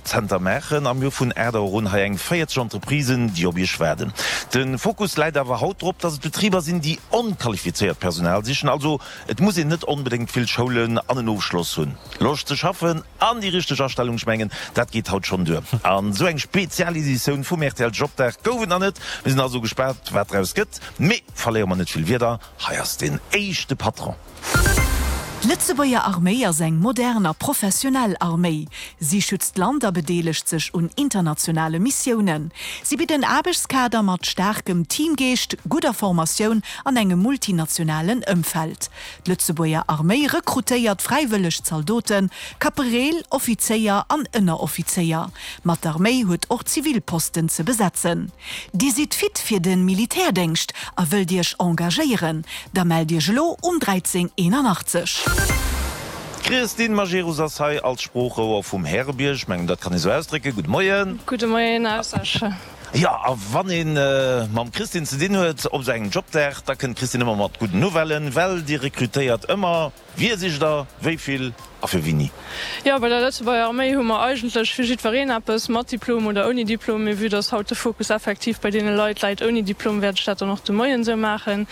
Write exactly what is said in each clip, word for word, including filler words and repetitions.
Jobcenter maachen a mir hu vun aacht Auer un hei eng véierzeg Entreprisen, déi op Iech waarden. De Fokus läit awer haut drop, dass et Betriber sinn, déi onqualifizéiert Personal sichen. Also et muss een net onbedéngt vill Schoulen an en Ofschloss hunn. Loscht ze schaffen an déi richteg Astellung, ech mengen, dat geet haut schonn duer. An esou eng Spezialeditioun vum rtl Jobdag gouf et nach net. Mir sinn also gespaant, wat draus gëtt. Mee verléiere mer net vill Wierder, hei ass den éischte Patron. D'Lëtzebuerger Arméi ass eng modern a professionell Arméi. Si schützt d'Land a bedeelegt sech un internationale Missiounen. Si bitt en Aarbechtskader mat staarkem Teamgeescht, gudder Formatioun an engem multinationalen Ëmfeld. D'Lëtzebuerger Arméi rekrutéiert fräiwëlleg Zaldoten, Kapereel, Offizéier an Ënneroffizéier. Ma d'Arméi huet och zivil Posten ze besetzen. Dir sidd fit fir de Militärdéngscht a wëllt Iech engagéieren? Da mellt Iech elo um dräizéng eenanachtzeg. D'Christine Majerus ass hei als Sproochrouer vum Härebierg. Ech mengen, dat kann ee sou ausdrécken. Gudde Moien. Gudde Moien aus Esch. Jo, a wann ee mam Christine ze dinn huet op esou engem Jobdag, da kënnt d'Christine ëmmer mat gudden Nouvellen, well Dir rekrutéiert ëmmer. Wie sicht Der, wéi vill a fir wéini? Jo, bei der Lëtzebuerger Arméi hu mer eigentlech fir jiddwereen eppes, mat Diplom oder ouni Diplom. Mee vue dass haut de Fokus effektiv bei deene Leit läit ouni Diplom, wäert ech dat dann och de Moien esou maachen.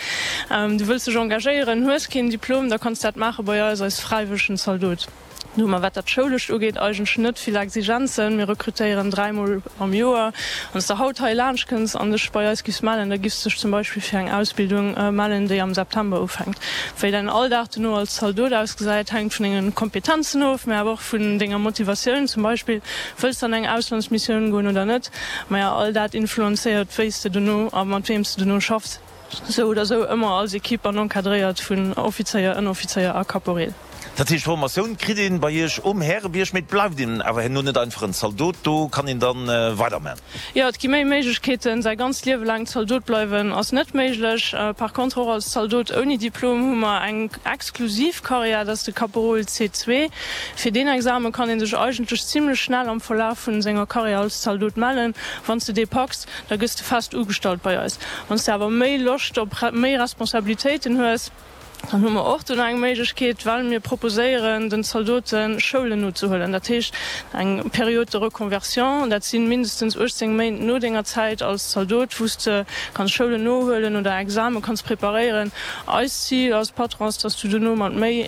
Du wëlls dech engagéieren, hues keen Diplom, da kanns dat maache bei eis als fräiwëllegen Zaldot. Do hu mer, wat dat Schoulescht ugeet, eigentlech net vill Exigenzen. Mir rekrutéieren dräimol am Joer. Wann s de haut hei laanscht kënns an dech bei eis giffs mellen, da giffs dech zum Beispill fir eng Ausbildung mellen, déi am September ufänkt. Wéi däin Alldag dono als Zaldot ausgesäit, hänkt vun denge Kompetenzen of, mä awer och vun denger Motivatioun, zum Beispill, wëlls de an eng Auslandsmissioun goen oder net? Maja, all dat influenzéiert, wéi s de dono a mat weem s de dono schaffs. Sou oder sou ëmmer als Equipe an encadréiert vun Offizéier, Ënneroffizéier a Caporeel. Dat heescht, Formatioun kritt een bei Iech um Härebierg, mee et bleift een awer herno net einfach en Zaldot, do kann een dann weiderman. Jo, et gi méi Méiglechkeeten. Säi ganzt Liewe laang Zaldot bleiwen ass net méiglech. Par contre och als Zaldot ouni Diplom hu mer eng exklusiv Karriär, dat ass de Caporal C zwee. Fir deen Exame kann ee sech eigentlech zimlech schnell am Verlaf vun senger Karriär als Zaldot mellen. Wann s de dee packs, da gëss de fest ugestallt bei eis. Wann s de awer méi Loscht op méi Responsabilitéiten hues, dann hu mer och do nach eng Méiglechkeet, well mir proposéieren den Zaldote Schoulen nozehuelen, dat heescht eng Période de reconversion, dat si mindestens uechtzéng Méint no denger Zäit als Zaldot, wou s de kanns Schoulen nohuelen oder Exame kanns preparéieren. Eist Zil als Patron ass, dass du dono mat méi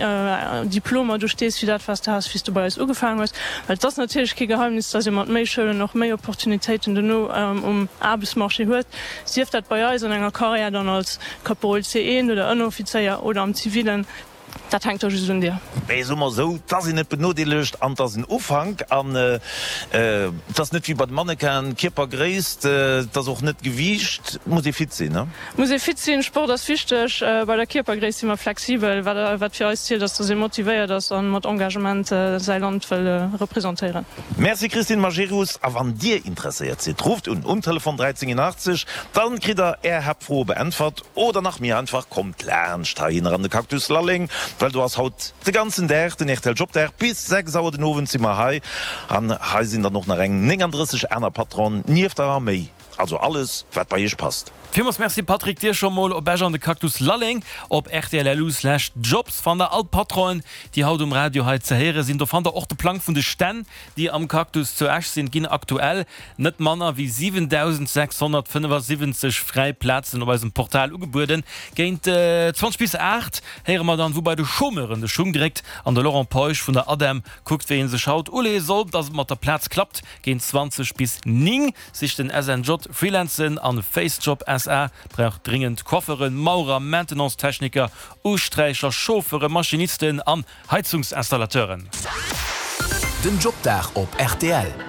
Diplomer do stees, wéi dat wat s de has, wéi s du bei eis ugefaangen hues. Well et ass natierlech kee Geheimnis, dass ee mat méi Schoulen och méi Opportunitéiten dono um Aarbechtsmarché huet, sief dat bei eis an enger Carrière dann als Caporal C eent oder Ënneroffizéier oder am Zivilen. Dat hänkt da just un dir. Mee soe mer esou, 't ass een net benodeelegt an 't ass en Ufank. An 't ass net wéi bei de Mannequinen, Kierpergréisst, 't ass och net Gewiicht, 't muss ee fit sinn, ne? Muss ee fit sinn, Sport ass wichteg. Bei der Kierpergréisst si mer flexibel. Wat fir eis zielt, ass, dass ee motivéiert ass a mat Engagement säi Land wëll representéieren. Merci Christine Majerus. A wann Dir interesséiert sidd, rufft un um Telefon dräizéng eenachtzeg, dann kritt der Är Haaptfroe beäntwert. Oder nach méi einfach, kommt laanscht heihinner an de Cactus Lalleng, well do ass haut de ganzen Dag den rtl Jobdag. Bis sechs Auer den Owend si mer hei an hei sinn dann och nach eng nénganddrësseg aner Patronen nieft der Arméi. Also alles wat bei iech passt. Villmools Merci Patrick, dir scho mol op Esch an de Cactus Lalleng. Op rtl.lu slash jobs fannt der all d'Patronen déi haut um Radio hei ze héiere sinn. Do fannt der och de Plang vun de Stänn déi am Cactus zu Esch sinn. Et ginn aktuell net manner wéi siwentausendsechshonnertfënnefasiwwenzeg fräi Plazen op eisem Portal ugebueden. Géint zwanzeg bis aacht héiere mer dann, wou bei de Chômeuren de Schung dréckt an de Laurent Peusch vun der ADEM kuckt, wéi ee sech haut uleeë soll, dass et mat der Plaz klappt. Géint zwanzeg bis néng sicht den S N J Freelancen an Facejob S A brauch dringend Coiffeuren, Maurer, Maintenance-Techniker, Usträicher, Chauffeuren, Maschinisten an Heizungsinstallateuren. Den Jobdag op rtl.